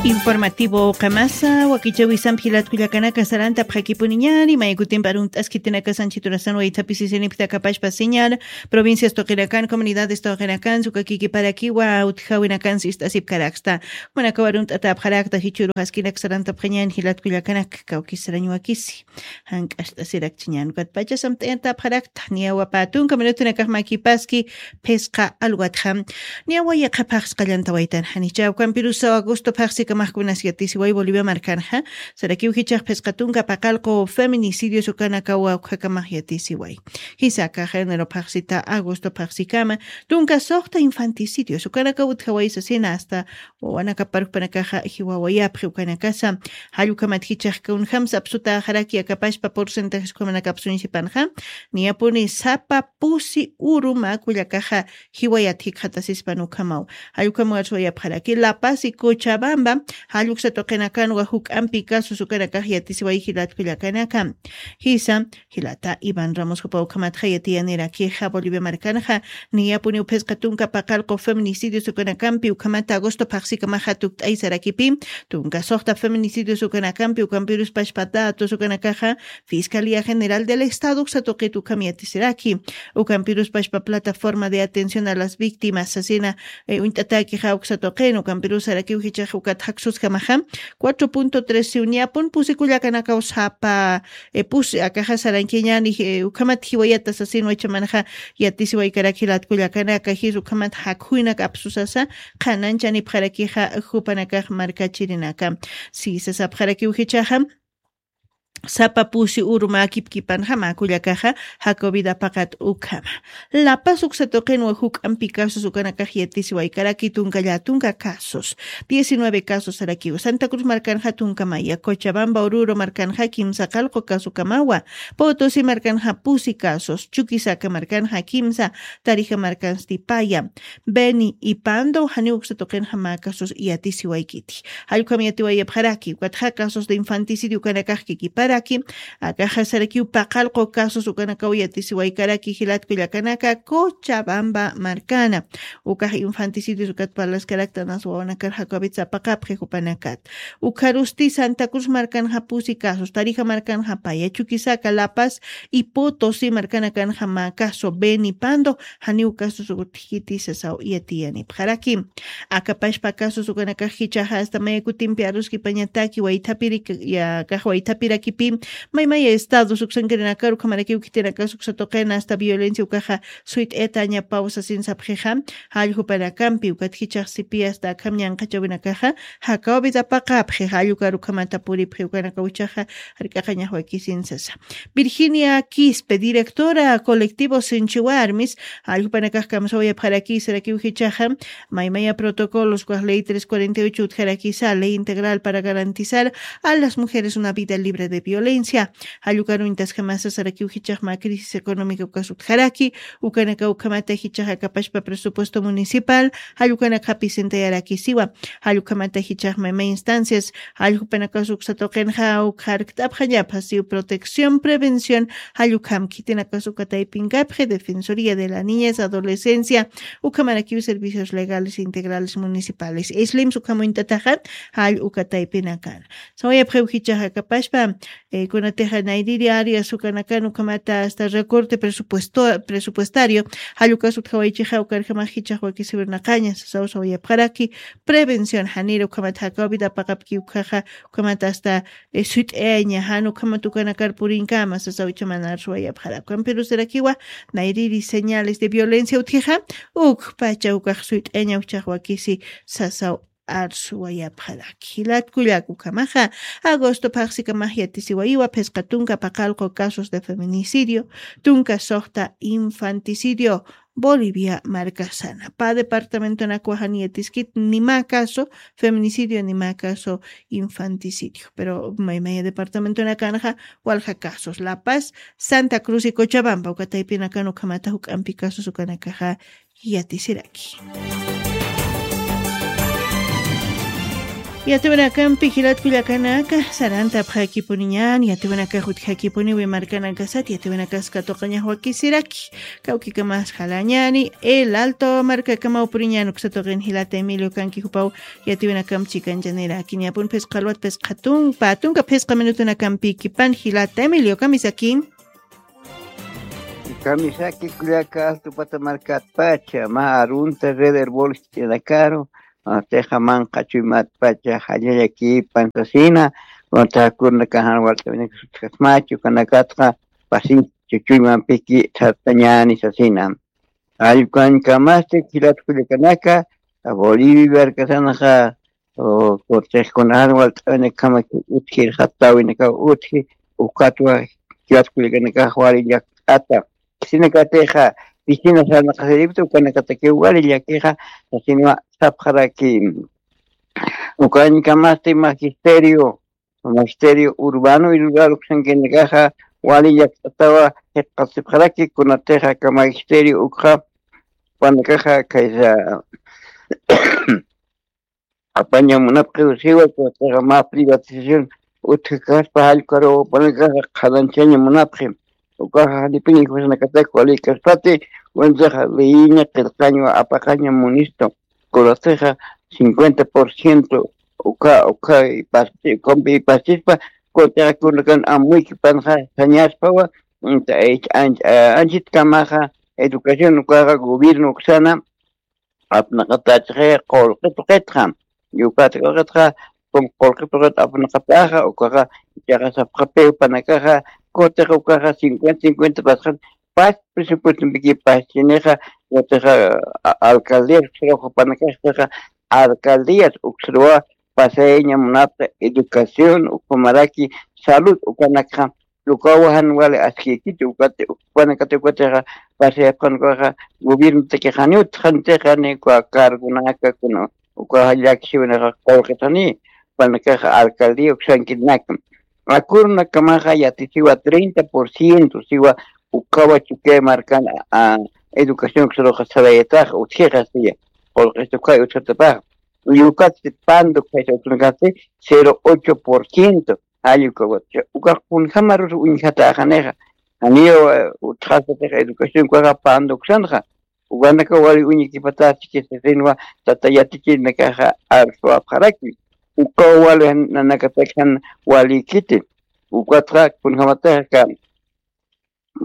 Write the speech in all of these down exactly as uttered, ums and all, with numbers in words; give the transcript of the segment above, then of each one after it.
Informativo qamasa wakichawisampi jilatkullakanaka sarantapxakipuniñari maykutimpi arunt'askitinakasanchiturasan waythapisisinikta kapashpa señal provincias tuqinakan comunidades tuqinakan sukakikiparakiwa utjawinakan sist'asipkaraksta manakawa arunt'atapxarakta jichuru jaskinak sarantapxañan jilatkullakanak kawkisarañwakisi. Jank'axt'asirakchiñan ukatpacha samt'ayantapxarakta niyawa pä tunka minutunakax makipaski phisqa alwatxa. Niyawa yaqha phaxsqallantawaytan janicha ukampirusaw agosto phaxsikamaxkunas yatisiway bolivia markanxa sarakiw jichax phisqa tunka paqalqu feminicidios ukanakawa ukjakamax yatisiway. Jisaka género phaxsita agosto phaxsikama tunka suxta infanticidios ukanakaw utjaway sasina asta wawanakaparukpanakaxa jiwawayapxi ukanakasa. Jallukhamat jichax kunjamsa apsutaxaraki akapashpa porcentajes ukhamanaka apsuñsipanxa niyapuni sapa pusi uru mä kullakaxa jiwayat jikxatasispan ukhamaw. Jallukhamawar suwayapxaraki lapasi cochabamba jalluksa tuqinakanwa juk'ampi casos ukanakax yatisiway jilat kullakanaka. Jisa jilata iván ramos jupa ukhamatxa yatiyanirakixa bolivia markanxa niyapuniw phisqa tunka paqalqu feminicidios ukanakampi ukhamata agosto phaxsikamaxa tukt'aysarakipi tunka suxta feminicidios ukanakampi ukampiruspash patatos ukanakaxa fiscalía general del estado uksa tuqit ukham yatisiraki. Ukampiruspashpa plataforma de atención a las víctimas sasina uñt'atakixa uksa tuqin ukampirusarakiw jichax ukat jaksuskamaxa cuatro punto tres siw niyapun pusikullakanakaw sapa pusi akaxa sarankiñani ukhamat jiwayata sasinwa ichamanxa yatisiwaykarak jilatkullakanaka jis ukhamat jakhuynaka apsusasa qhananchanipxarakixa jupanakax markachirinaka. Si sasapxarakiw jichaxa sapa pusi uru mä kipkipanxa mä kullakaxa jacovid apaqat ukhama. Lapas uksa tuqinwa juk'ampi casos ukanakax yatisiwaykaraki tunka llatunka casos diecinueve casos sarakiw santa cruz markanxa tunka maya cochabamba ururu markanxa kimsa qalqu casokamawa. Potosi markanxa pusi casos chuquisaca markanxa kimsa tarija markansti paya beni y pando janiw uksa tuqinxa mä casos yatisiwaykiti. Jallkham yatiwayapxaraki ukatxa casos de infanticidio ukanakax kikiparaki akaxa sarakiw paqalqu casos ukanakaw yatisiwaykaraki jilatkullakanaka cochabamba markana. Ukax infanticidios ukat parlaskarakta nas wawanakar jacobit sapaqapxi jupanakat. Ukharusti santa cruz markanxa pusi casos tarija markanxa paya chuquisaca lapas y potosi markanakanxa mä caso beni pando janiw casos utjiti sasaw yatiyanipxaraki. Akapashpa casos ukanakax jichaxa asta maya kutimpi aruskipañataki waythapirik yakax waythapirakipi maymaya estados uksankirinakar ukhamarakiw khitinakas uksa tuqina asta violencia ukaxa suyt'ayatañapaw sasin sapxixa. Jallkhupanakampi ukat jichax sipi asta akham ñanqhachawinakaxa jakawbit apaqapxi jallukar ukhamata puripxi ukanakaw jichaxa jark'aqañaxwakisin sasa. Virginia quispe directora colectivo sinchi warmis jalljupanakax kamsawayapxarakisarakiw jichaxa maymaya protocolos ukax ley tres cuarenta y ocho utjarakisa ley integral para garantizar a las mujeres una vida libre de violencia. Jallukaruñtas jamasasarakiw jichax mä crisis económica ukas utjaraki ukanaka ukhamata jichax akapashpa presupuesto municipal jallukanakxapi sintayarakisiwa. Jallukhamata jichaxma ima instancias jallukpanakas uksa tuqinxa ukxarkt'apxañapxasiw protección prevención. Jallukham khitinakas uka taypinkapxi defensoría de la niñez adolescencia ukhamarakiw servicios legales integrales municipales islims ukhamuñt'ataxa jall uka taypinakan. Sawayapxiw jichaxa kapashpa kunatixa nayriri arias ukanakan ukhamata asta recorte presupuesto presupuestario jallukas utjawaychixa ukarjamax jichax wakisiwirnaqaña sasaw sawayapxaraki prevención janira ukhamat jakaw vida paqapki ukhaxa ukhamat asta suyt'ayaña jan ukhamat ukanakar purinkama sasaw ichamanar suwayapxaraki ukampirusarakiwa nayriri señales de violencia utjixa ukpacha ukax suyt'ayaña uchax wakisi sasaw arsuwayapxaraki jilatkullak ukhamaxa agosto phaxsikamax yatisiwayiwa phisqa tunka paqalqu casos de feminicidio tunka suxta infanticidio bolivia markasana pa departamentonakwa jan yatiskit ni mä caso feminicidio ni mä caso infanticidio pero maymaya departamentonakanxa walja casos la paz santa cruz y cochabamba uka taypinakan ukhamata juk'ampi casos ukanakaxa yatisiraki. Yatiwinakampi jilat kullakanaka, sarantapxakipuniñan, yatiwinakax utjakipuniwi markanakasat, yatiwinakas katuqañax wakisiraki, kawkikamas jalañani, El Alto markakamaw puriñan, uksatuqin jilata Emilio kanki jupaw, yatiwinakam chikanchañanirakiñapun phisqa alwat phisqa tunka, tunka phisqa minutunakampïkipan jilata Emilio, kamisaki. Kamisaki kullaka Alto Pata markatpacha, mä arunta Red Herboles ch'inakaru, ah, teja manqa chuymatpacha, jallallakipan sasina, wata kurnakan jan walt'awinaka sutjasmachu, kanakatqa pasin chuchuymampiki sartañani sasina. Allkukañkamasti jilat kullakanaka, Bolivia markasanxa, o, kutix kunajan walt'awinakjamaki utji, jatawinakaw utji, ukatwa jilat kullakanakax wali llakt'ata. Sinakatixa, piscina sarnaqasiripta, ukanakatakiw wali llakixa, sasinwa sapxaraki. Ukañkamasti magisterio, magisterio urbano y rural uksankinakaxa, wali llakt'atawa, jikxatasipxaraki, kunatixa aka magisterio ukxa, panakaxa, kaysa, apaña munapxi usiwa, kunatixa mä privatización utjakaspa jallkaru, panakaxa qhalanchaña munapxi. Ukaxa janipiña jueznakatak walikaspati, kunatixa leyiña qillqañwa apaqaña munisto. Kunatixa cincuenta por ciento uka, uka ipasti, ukampi ipastispa, kunatixa kunakan amuykipanxa sañaspawa, anta, eh, anch-, eh, anchitkamaxa educación ukaxa gobierno uksana, apnaqatachixi qullqi tuqitxa, ukat qullqitxa, qullqi tuqit apnaqataxa, ukaxa, ichaxa sapxapiw panakaxa, kutixa ukaxa cincuenta cincuenta pasxan, pas presupuestompiki paschinixa, kutixa, a-, alcaldías uksruxa panakaxa, alcaldías uksruwa pasayaña munapxi educación, ukhamaraki salud, ukanakxa, ukawa jan wali askïkiti, ukati, ukanakati ukatixa, pasayapxan ukaxa, gobiernotakixa janiw utjxantixa, ni uka cargonaka, kuna, ukaxa llaksiwinaxa qullqitani, panakaxa alcaldía uksankinaka. Akurunakamaxa yatisiwa treinta por ciento, siwa ukawa Chukiyawu markan, a, educación uksruxa sarayataxa, utjixa siya, qullqista ukhay utjatapaxa. Ukatsti pando ukhaxa utjunakasti cero ocho por ciento. Jall ukawa, ukax kunjamarus uñjatäxanixa. Janiw, eh, utjasatixa educación ukaxa pando uksanxa. Ukanaka wali uñakipatächiki sasinwa tata yatichirinakaxa arswapxaraki. Ukaw wali nanakatak jan walïkiti. Ukatxa kunjamatixa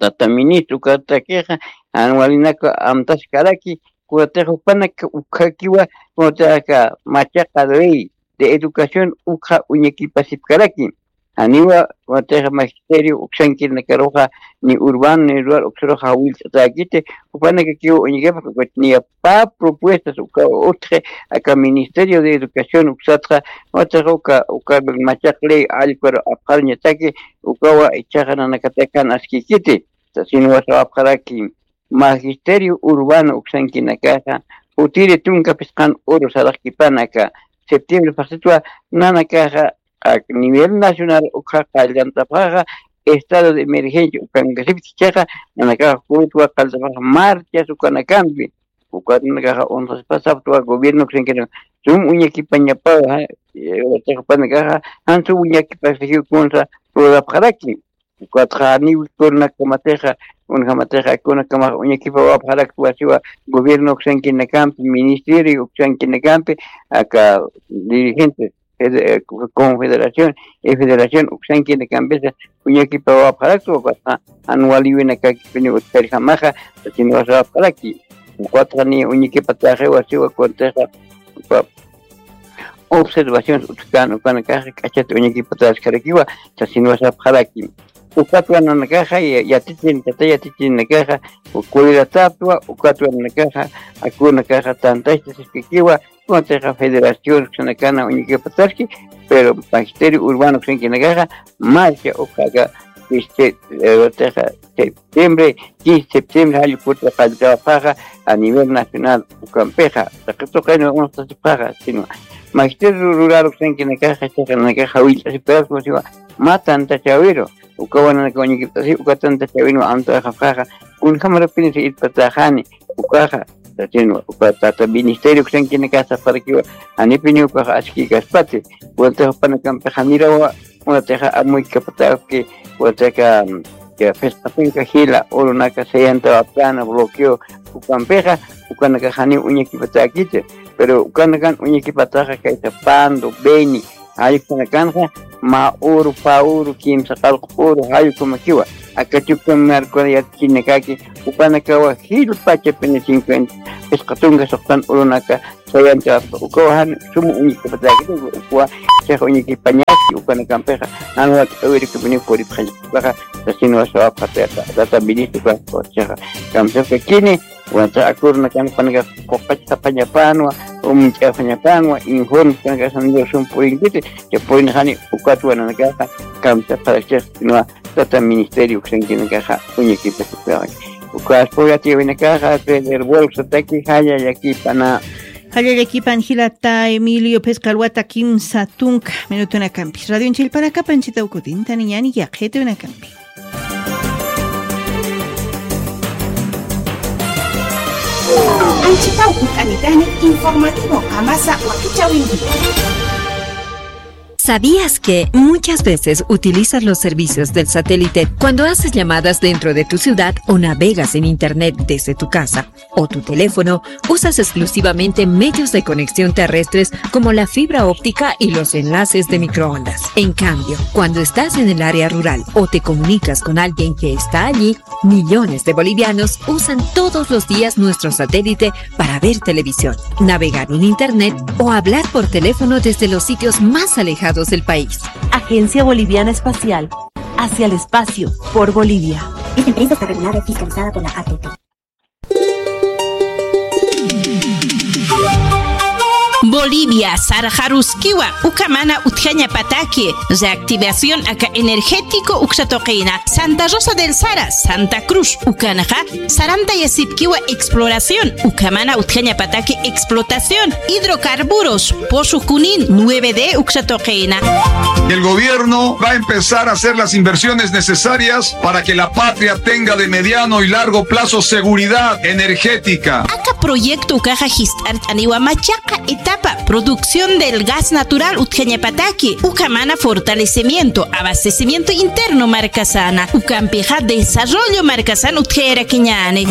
tata ministro, ukatakixa, jan walinaka amtaskaraki, kunatixa jupanaka ukhakiwa, kunatixa machaqa ley de educación ukxa uñakipasipkaraki. Janiwa, kunatixa magisterio uksankirinakaruxa, ni urbano ni rural uksruxa jawillt'atäkiti, jupanakakiwa uñakipasipkaraki, niya pä propuestas uka utji, aka Ministerio de Educación uksatxa, watixa uka, uka machaq ley allparu apxarañataki, ukawa ichaxa nanakatak jan askïkiti, sasinwa sapxaraki, Magisterio Urbano uksankinakaxa, utiri tunka phisqan uru saraqkipan aka septiembre phaxsitwa, nanakaxa, a nivel nacional ukxa qallantapxaxa, estado de emergencia ukankasipki, ichaxa, nanakaxa kurutwa qalltapxaxa marchas ukanakampi, ukat nanakaxa uñjasipxasaptwa gobierno uksankinaka, sum uñakipañapawa, eh, watixa panakaxa, jan sum uñakipasakiw kunsa lurapxaraki. Ukatxa janiw kurunakkamatixa, kunjamatixa, kunakamax uñakipawapxaraktwa siwa gobierno uksankinakampi, ministerio uksankinakampi, aka dirigentes, fede-, eh, confederación, eh, federación uksankinakampisa uñakipawapxaraktwa, ukatxa jan waliwinakakipiniw utjarjamaxa, sasinwa sapxaraki. Ukatxa niya uñakipatäxiwa siwa kunatixa, uka observaciones utjkän ukanakaxa k'achat uñakipatäskarakiwa, sasinwa sapxaraki. Ukatwa nanakaxa ya-, yatichirin, tata yatichirinakaxa, kulirataptwa, ukatwa nanakaxa, akunakaxa tantachtasipkiwa, kunatixa federación uksanakana uñakipatäski, pero magisterio urbano uksankinakaxa, marcha ukaka, este, eh, watixa, septiembre, quince septiembre, jall ukutwa qalltapxaxa a nivel nacional ukampixa, taqi tuqinwa uñjtasipxaxa, sino magisterio rural uksankinakaxa, ichaxa nanakaxa jawillt'asipkaraki, siwa mä tantachäwiru, ukawa nanaka uñakipt'asi, uka tantachäwinwa amtawayxapxaxa, kunjamarapinisa irpatäxani, ukaxa, Sasin uka tata ministerio uksankinakasa parakiwa, janipiniw ukax askikaspati. Vuelta jupanakampixa nirawa, unatixa amuykapatäki, vueltaka, ya, phisqasinka jila urunaka sayantawapkana bloqueo ukampixa, ukanakax janiw uñakipatäkiti. Pero ukanakan uñakipataxa kaysa Pando, Beni, jayukanakanxa mä uru, pä uru, kimsa qallqu uru jayukumakiwa. Aka Chukiyawu markuna yatchinakaki, ukanakawa jilpacha pina cincuenta, phisqa tunka suxtan urunaka sayantawapka, ukawa jan suma uñakipatäkiti, ukawa chiqa uñakipañaski, ukanakampixa jan wakt'awirikipini puripxañakipaxa, sasinwa sawapxa tata, tata ministro, ukaxa chiqa kamsapkakini. Wata akurnakan panaka quqach sapañapanwa, umch'apañapanwa, informe panaka sandiosum purinkiti, ya purinxani ukatwa nanakaxa, kamsa parakchix, sinwa tata ministerio uksankinakaxa, uñakipasipkaxan. Ukas puyatiyawinakaxa, Pedro Bolsataki, jaya llakipana. Jalla llakipan jilata Emilio, phisqa alwata kimsa tunka minutunakampi. Radio Chilpanakapan chita ukutintani ñani yaqhitunakampi. Anchitaw kut'anitani informativo qamasa wakichäwinki. ¿Sabías que muchas veces utilizas los servicios del satélite cuando haces llamadas dentro de tu ciudad o navegas en internet desde tu casa o tu teléfono? Usas exclusivamente medios de conexión terrestres como la fibra óptica y los enlaces de microondas. En cambio, cuando estás en el área rural o te comunicas con alguien que está allí, millones de bolivianos usan todos los días nuestro satélite para ver televisión, navegar en internet o hablar por teléfono desde los sitios más alejados del país. Agencia Boliviana Espacial. Hacia el espacio, por Bolivia. Esta empresa está regulada y fiscalizada por la A T T. Bolivia, sarxaruskiwa, uka mana utjañapataki, reactivación aka energético uksa tuqina, Santa Rosa del Sara, Santa Cruz, ukanxa, sarantayasipkiwa exploración, uka mana utjañapataki explotación, hidrocarburos, pozo Junín, nueve D uksa tuqina. El gobierno va a empezar a hacer las inversiones necesarias para que la patria tenga de mediano y largo plazo seguridad energética. Aka proyecto ukaxa jist'art'aniwa machaqa etapa, producción del gas natural utjañapataki, uka mana fortalecimiento, abastecimiento interno markasana, ukampixa desarrollo markasana utjayarakiñäni.